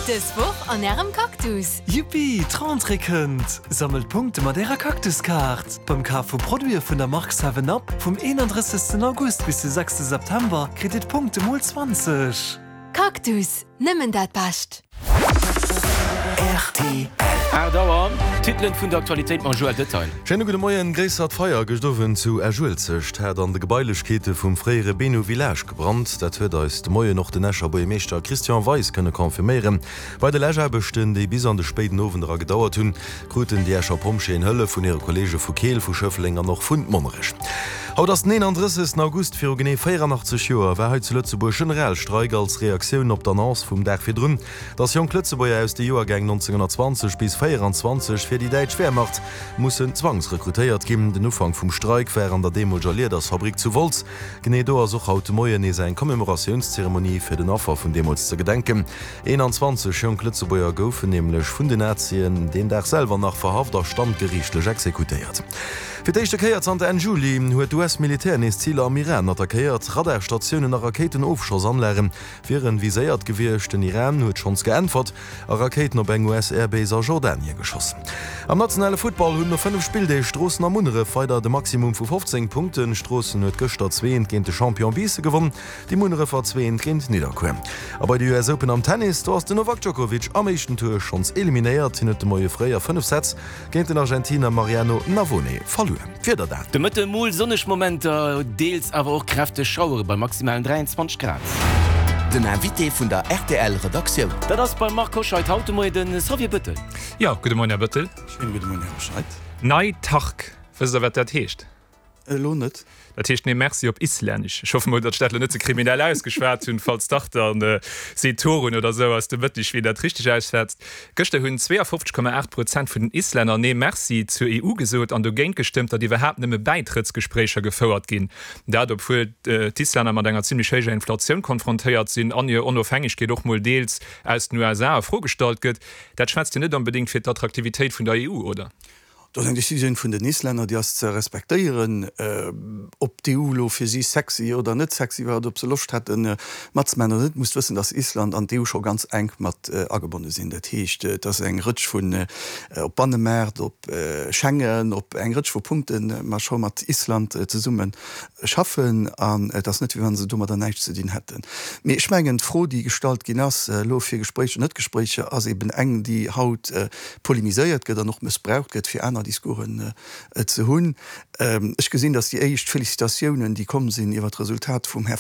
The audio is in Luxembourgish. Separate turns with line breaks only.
Dës Woch an Ärem Cactus!
Yuppi, d'Rentrée kënnt! Sammelt Punkte mat Ärer Cactus-Kaart! Beim Kaf vu Produite vun der Mark 7 Up vum 31. August bis de 6. September kritt Dir d'Punkte mol 20.
Cactus, nëmmen dat Bescht!
Rtl. 8 Auer, D'Titelen vun der Aktualitéit mam Joël Detail.
Schéine gudde Moien. Gréissert Feier gëscht Owend zu Esch-Uelzecht hat an de Gebailechkeete vum fréiere Benu Village gebrannt. Dat huet eis de Moien och den Escher Buergermeeschter Christian Weis kënne confirméieren. Bei de Läschaarbechten, déi bis an de spéiden Owend era gedauert hunn, kruten déi Escher Pompjeeën Hëllef vun hire Kolleege vu Keel, vu Schëffleng an och vun Monnerech. Haut ass den 31. August. Viru genee 84 Joer war hei zu Lëtzebuerg Generalstreik als Reaktioun op d'Annonce vum Dag virdrun, dass jonk Lëtzebuerger aus de Joergäng 1920 bis 24 fir déi däitsch Wehrmacht mussen zwangsrekrutéiert ginn. Den Ufank vum Streik war an der deemoleger Liedersfabrik zu Wolz. Genee do ass och haut de Moien nees eng Commémoratiounszeremonie fir den Affer vun deemools ze gedenken. 21 jonk Lëtzebuerger goufen nämlech vun den Nazien deen Dag selwer nach verhaft a standgeriichtlech exekutéiert. Fir d'éischte Kéier zanter Enn Juli huet d'US-Militär nees Ziler am Iran attackéiert. Radarstatiounen a Rakéitenofschossanlage wieren viséiert gewiescht. Den Iran huet schonns geäntwert a Rakéiten op eng US-Airbase a Jordanie geschoss. Am nationale Futtball hunn no 5 Spilldeeg Stroossen a Munneref weider de Maximum vu 15 Punkten. Stroossen huet gëschter 2 géint de Champion Biissen gewonn, déi Munnerefer 2 géint Nidderkuer. A bei de US Open am Tennis, do ass den Novak Djokovic am éischten Tour schonns eliminéiert. Hien huet de Moie fréi a 5 Sätz géint den Argentiner Mariano Navone verluer. D'Wieder
dat. De Mëtte mol sonneg Momenter, deels awer och kräfteg Schauere bei maximalen 23 Grad.
Den Invité vun der rtl Redaktioun.
Dat ass beim Marc Hoscheid haut de Moien de Xavier Bëttel.
Jo, gudde Moien Här Bëttel.
Schéine gudde Moien Här Hoscheid.
Nei Takk, wësst Der wat dat heescht?
Elo net.
Dat heescht Nee Merci op Islännesch. Ech hoffe mol, datt ech dat elo net ze kriminell ausgeschwat hunn, falls dach dann seet Thorunn oder esou aus dem Mëtteg, wien dat richteg ausschwätzt. Gëschter hunn 52,8 Prozent vun den Islänner Nee Merci zur EU gesot an dogéint gestëmmt, datt iwwerhaapt nëmme Bäitrëttsgespréicher gefouert ginn. Dat obwuel d'Islänner mat enger zimmlech héijer Inflatioun konfrontéiert sinn an hir Onofhängegkeet och mol deels aus den USA a Fro gestallt gëtt. Dat schwätzt jo net onbedéngt fir d'Attraktivitéit vun der EU, oder?
Dat ass eng Decisioun vun den Islänner, déi ass ze respektéieren. Ob d'EU elo fir si sexy oder net sexy war oder ob se Loscht hätten matzemaachen oder net, musst wëssen, datt Island an d'EU scho ganz enk mat agebonne sinn. Dat heescht, et ass eng Rëtsch vun, op Bannemaart, op Schengen, op eng Rëtsch vu Punkten, mer scho mat Island zesumme schaffen. An et ass net, wéi wa se domadder näischt ze dinn hätten. Mee ech mengen, d'Fro, déi gestallt ginn ass elo fir Gespréicher, net Gespréicher, ass eben eng, déi haut polemiséiert gëtt an och mëssbraucht gëtt, fir aner Discoursen ze hunn. Ech gesinn, datt déi éischt Félicitatiounen, déi komm sinn iwwer d'Resultat vum Här.